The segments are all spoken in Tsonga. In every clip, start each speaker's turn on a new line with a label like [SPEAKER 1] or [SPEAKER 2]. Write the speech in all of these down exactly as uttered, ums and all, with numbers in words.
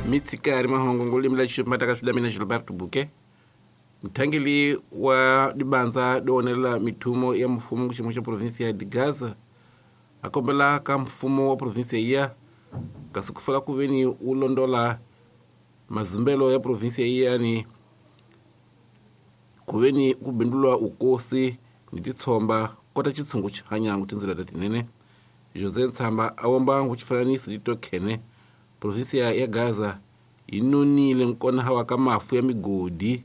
[SPEAKER 1] Mitsikari mahongo ngolimi la xipimata ka mina Gilberto Buke mthangeli wa dibanza doonela mithumo ya mfumo ku xiyimo xa provinsia ya Gaza a kombela ka mfumo wa provinsia ya kasi ku fela ku veni wu londola mazimbelo ya provinsia yani ku veni ku bindulwa ukosi ni titshomba kota xitshungu xi hanyangu tindzela ta tinene José Ntshamba a womba nguxifananisi titokhene provinsia ya Gaza yi nonile nkona hawa ka mafu ya migodi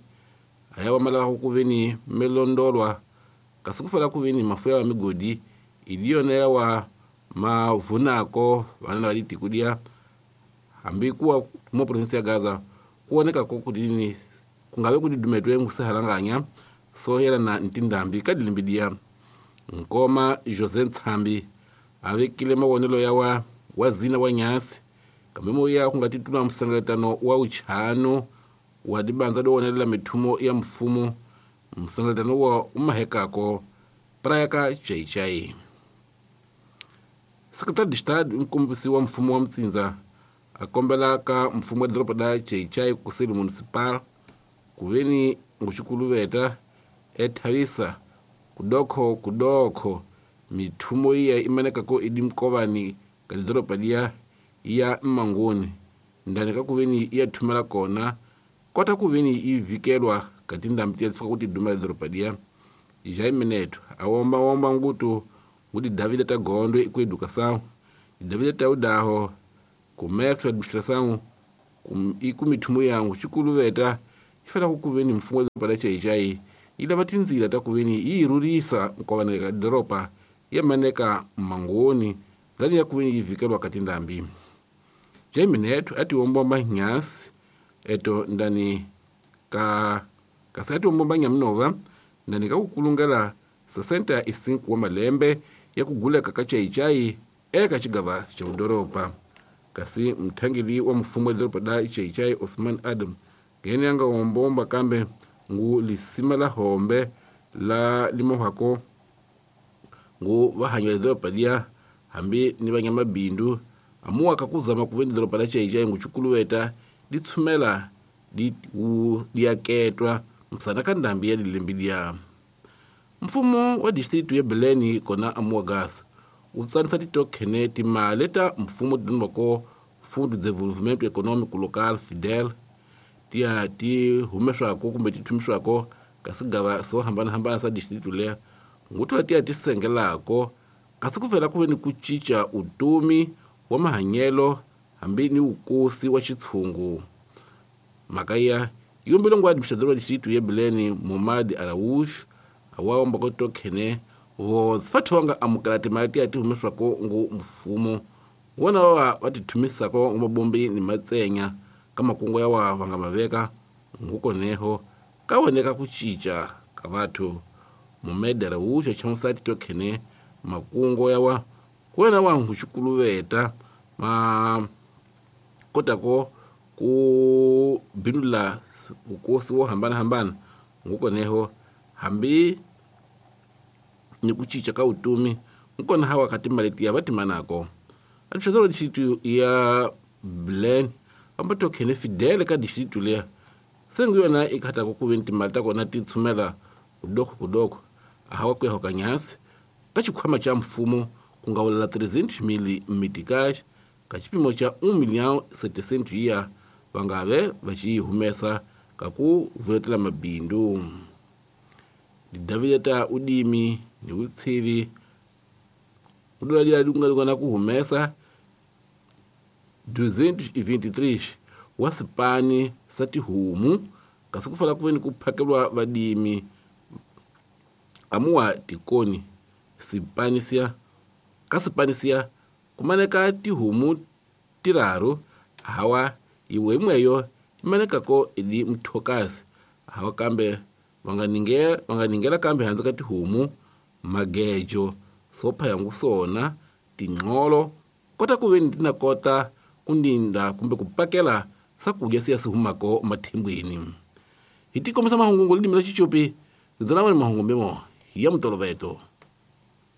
[SPEAKER 1] aya wamalaka ku veni melondolwa kasi ku fela ku veni mafu ya migodi idiyona ya wa mavunako vana va litiko dia hambi kuwa mo provinsia ya Gaza kuoneka ko kudini kungave kuti dumetwe ngusehalanganya so yela na ntindambi ka dilimbi dia nkoma José Nthambi avekile mavonelo ya wa wazina wa nyasi kambe moya kunga titula msangaletano wa uchano wa dibanza dowonelela mithumo ya mfumo msangaletano wa umahekako prayaka chaichai. Secretário de Estado mkombisi wa mfumo wa mtsinza akombela ka mfumo wa doroba da chaichai kuseli municipal kuveni nguxikuluveta ethavisa kudokho kudokho mithumo iya imanekako idi mkovani ka doroba dia ya mmangoni ndani ka kuveni iya thumela kona kota kuveni ivikelwa ka tindhambi tiya tisuka kuti dumela doroba dia Jaime Neto awomba womba ngutu nguti Davida ta Gondwe ku educação Davida ta udaho comércio administração ikumithumo yangu xikuluveta ifela ku kuveni mfumo wa doroba la chaichai ilava tindzila ta kuveni yi rhurisa nkovana ka doroba ya maneka mmangoni ndani ya kuveni yi vikelwa ka tindhambi. Jaime Neto ati wombomba nyasi eto ndani ka kasi ati wombomba nyamnova ndani ka kukulungela sessenta e cinco wa malembe ya kuguleka ka chaichai eka xigava xa udoroba kasi mthangeli wa mfumo wa doroba da chaichai Osman Adam ngene yanga wombomba kambe ngu lisima la hombe la limohako ngu vahanywa doroba dia hambi ni vanyamabindu amuwa kakuzama kuveni doroba la chaichai nguchukuluweta litshumela di wu diaketwa msana ka ndhambi ya dilembi dia. Mfumo wa distritu ya Beleni kona amuwa gas wu tsanisa titokhene timali ta mfumo tidonwako Fundo de Desenvolvimento Econômico Local Fidel tiya ti humeswako kumbe ti thumiswako ka sigava swo hambanahambana sa distritu leya ngutula tiya ti sengelako kasi ku fela ku veni ku cinca utumi wa mahanyelo hambi ni wukosi wa xitshungu. Mhaka ya yombile ngwa administrador wa distritu ya Beleni Momadi Araújo awawomba ko tokhene vo fathu va nga amukela timali tiya ti humeswako ngu mfumo wona wa va ti thumisako mabombi ni matsenya ka makungu ya wa va nga maveka ngukoneho ka woneka ku cinca ka vathu. Momedi Araújo chamusati tokhene makungu ya wa kuwena wa nguxikuluveta ma kotako ku bindula ukosi wo hambanahambana ngukoneho hambi ni ku cinca ka utumi nkona hawa ka timali tiya va timanako. Administrador wa distritu ya Beleni vamba tokhene Fidel ka distritu leya sengu yona i khatako ku veni timali ta kona ti tshumela kudoko kudoko ahawa ku yahoka nyasi ka xikhwama xa mfumo ku nga wulela trezentos mil meticais ka xipimo xa um milhão setecentos ya va nga ve va xi humesa ka ku vuletela mabindzu. Davida ta udimi ni vutshivi udwalila kunga ku humesa duzentos e vinte e três wa sipani sa tihomu kasi ku fela ku veni ku phakeliwa vadimi amuwa tikoni sipanisia ka sipanisia kumaneka tihomu tiraru hawa iwe imweyo imanekako ili mthokasi hawa kambe vanganingela vanganingela kambe handze ka tihomu magejo sopha yangu sona tinqolo kota ku veni tina kota kundinda kumbe ku pakela swakudya siya swi humako mathembweni. Hi tikomisa mahungu limi la xichopi ndzi na mahungu memo ya mutoloveto.